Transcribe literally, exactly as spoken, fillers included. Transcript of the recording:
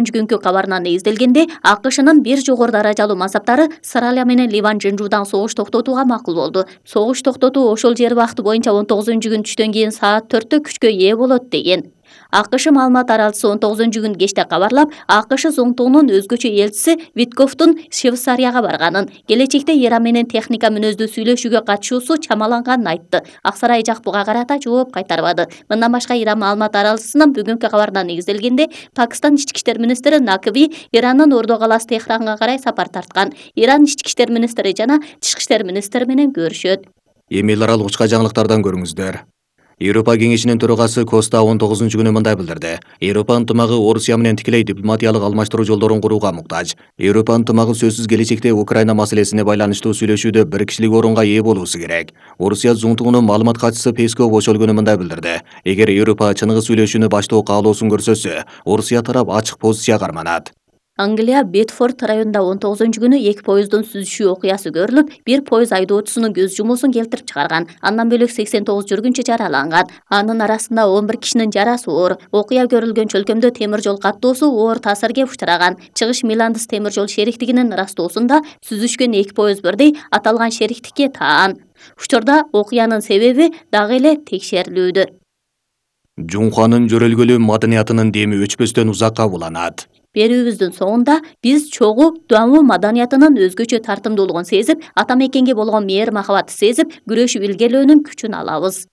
күнгү кабарынан негизделгенде АКШнын бир жогору даражалуу мансаптары Сыралия менен Ливан Жынжуудан согуш токтотууга макул болду. Согуш токтотуу ошол жер убакыты боюнча он тогузунчу күн түштөн кийин саат төрттө күчкө ээ болот деген. АКШ маалымат аралчысы он тогузунчу күн кечте кабарлап, АКШ зоңтугунун өзгөчө элчиси Витковдун Швейцарияга барганын, келечекте Иран менен техника мүнөздүү сүйлөшүүгө катышуусу чамаланганын айтты. Ак сарай жак буга карата жооп кайтарбады. Мындан башка Иран маалымат аралчысынын бүгүнкү кабарына негизделгенде, Пакистан ички иштер министри Накви Ирандын Ордо калаасы Техранга карай сапар тарткан. Иран ички иштер министри жана тышкы иштер министри менен көрүшөт. Эми эл аралык учка жаңылыктардан көрүңүздөр. Европа кеңешинин төрагасы Коста он тогузунчу күнү мындай билдирди. Европа ынтымагы Орусия менен тикелей дипломатиялык алмаштыруу жолдорун курууга муктаж. Европа ынтымагы сөзсүз келечекте Украина маселесине байланыштуу сүйлөшүүдө бир кишилик орунга ээ болуусу керек. Орусия зоңтугунун маалымат катчысы Песков ошол күнү мындай билдирди. Эгер Европа чыныгы сүйлөшүүнү баштоо каалоосун көрсөтсө, Орусия тарап ачык позиция карманат. Англия Бетфорд районунда он тогузунчу күнү эки поезддун сүзүшүү окуясы көрүлүп, бир поезд айдоочусунун көз жумуусун келтирип чыгарган. Андан бөлөк сексен тогуз жүргүнчү жараланган. Анын арасында он бир кишинин жарасы оор. Окуя көрүлгөн чөлкөмдө темир жол каттоосу оор таасирге учураган. Чыгыш Миландыс темир жол шериктигинин ырастоосунда сүзүшкөн эки поезд бирдей аталган шериктикке таан. Учурда окуянын себеби дагы эле текшерилүүдө. Жунханын жөрөлгөлүү маданиятынын деми өчпөстөн узакка уланат. Берүүбүздүн соңунда биз чогуу Дуанву маданиятынын өзгөчө тартымдуулугун сезип, ата мекенге болгон мээр махабатты сезип, күрөшүп илгерилөөнүн күчүн алабыз.